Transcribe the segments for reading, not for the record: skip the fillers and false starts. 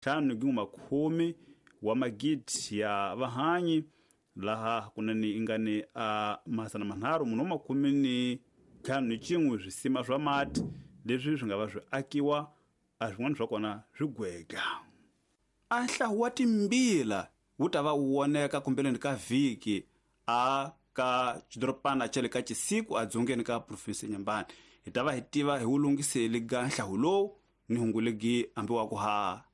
5.10 wa magidi ya vahanyi laha kunene ingani a 351 swisima swa mati leswi swi nga va swi akiwa a swin'wana swa kona swi gwega. A nhlawu wa timbila wu ta va wu voneka kumbeleni ka vhiki a ka xidorobana xa le ka Chisiku edzongeni ka province ya Nyambani. Hi ta va hi tiva hi wu lunghiseli ga nhlawu lowu ni hungu legi ambiwaku ha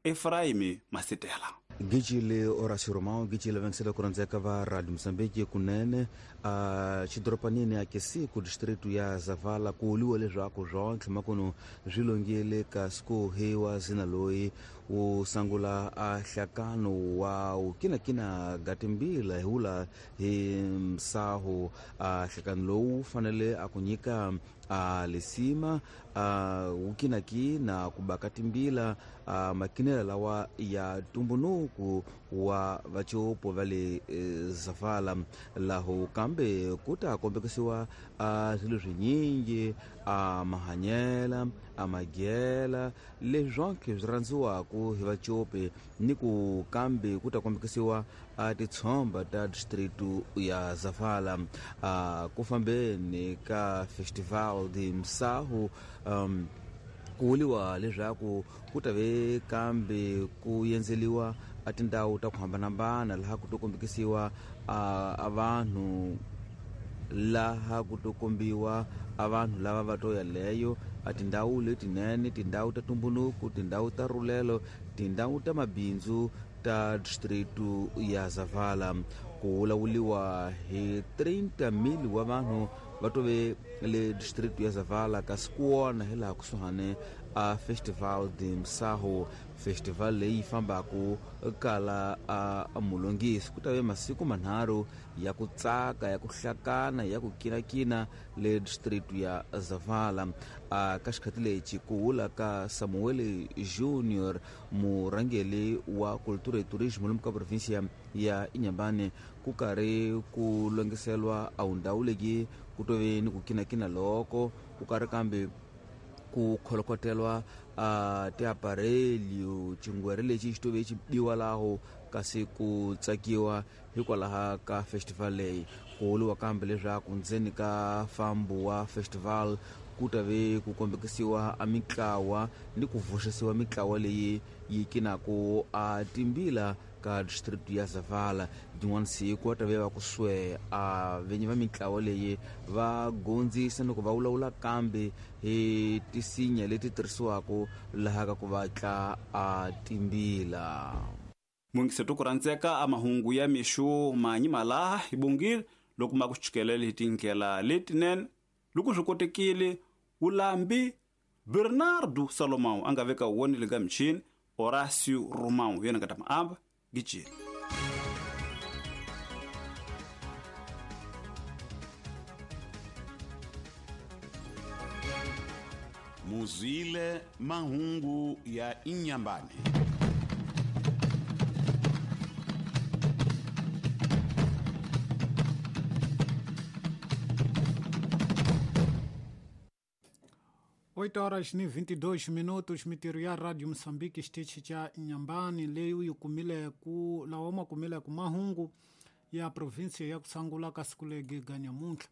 Efraimi Masitela. Gicile Horacio Romão gicile vengisela ku rhandzeka va Radio Mozambique kunene a xidorobanini a Kisiku distrito ya Zavala ku vuriwa leswaku swontlhe makuno swi longile kasi ku hiwa zina loyi wu sangula a hlakano wa wukinakina ga timbila hi wula hi msaho a hlakano lowu fanele a ku nyika a lisima a wukinakina ku baka timbila a makinela lawa ya tumbunuku wa vacopo va le Zavala laho kambe ku ta kombekisiwa a swilo swinyingi a mahanyela a magela leswi swonke swi rhandziwaka hi vacopi ni ku kambe ku ta kombekisiwa a titshomba ta distrito ya Zavala a ku fambeni ka Festival de Msahu ku vuriwa leswaku ku ta ve kambe ku yendzeliwa a tindhawu ta ku hambanahambana laha ku to kombekisiwa a vanhu laha ku to kombiwa a vanhu lava va to yaleyo a tindhawu letinene tindhawu ta tumbunuku tindhawu ta rhulelo tindhawu ta mabindzu ta distrito ya Zavala ku vulavuriwa hi 30,000 wa vanhu va tove le distrito ya Zavala kasi ku wona hi laha kusuhani a Festival de Msaho festival leyi fambaku kala a mulongisi ku ta ve masiku manharhu ya ku tsaka ya ku hlakana ya ku kinakina le distrito ya Zavala a ka xikhati lexi ku vula ka Samuel Junior murhangeri wa cultura e turismo lomu ka provinsia ya Inhambane ku karhi ku longiselwa a ndhawu leyi ku tove ni ku kinakina loko ku karhi kambe ku kholokotelwa a tiaparelio xingwere lexi xi tove xi biwa laho kasi ku tsakiwa hikwalaho ka festival leyi ku vuriwa kambe leswaku ndzeni ka fambo wa festival ku ta ve ku kombekisiwa a mitlawa ni ku vuxisiwa mitlawa leyi yi kinaku a timbila ka district ya Zavala din'wana siku va ta ve va ku swe a venyi va mitlawa leyi va gondzisa ni ku va vulavula kambe hi tisinya leti tirhisiwaka laha ka ku vatla a timbila. Mungiseto ku rhandzeka a mahungu ya mixo manyi malaha hi bongile loko ma ku chukelele hi tindlela letinene loko swi kotekile ulambi Bernardo Salomão a nga veka wonile ka michini Horacio Romão yena nga ta maamba gicile. Muzwile mahungu ya Inhambane. Oito horas ni 22 minutos mitirho ya Radio Mozambique xitichi cha Inhambane leyi yi kumile ku lawa ma kumile ku mahungu ya provinsia ya kusangula ka siku legi ga nyamuntlha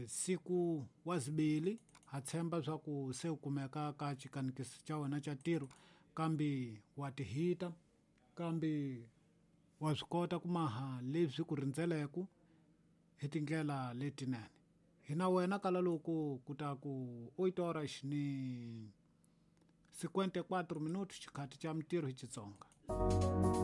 siku wa zibili ha tshemba swa ku se u kumeka ka xikanikisi xa wena xa ntirho kambe wa tihita kambe wa swi kota ku maha leswi ku rindzeleke hi tindlela letinene hina wena kala loko ku ta ku 8 horas ni 54 minutos xikhathi xa mintirho hi Xitsonga.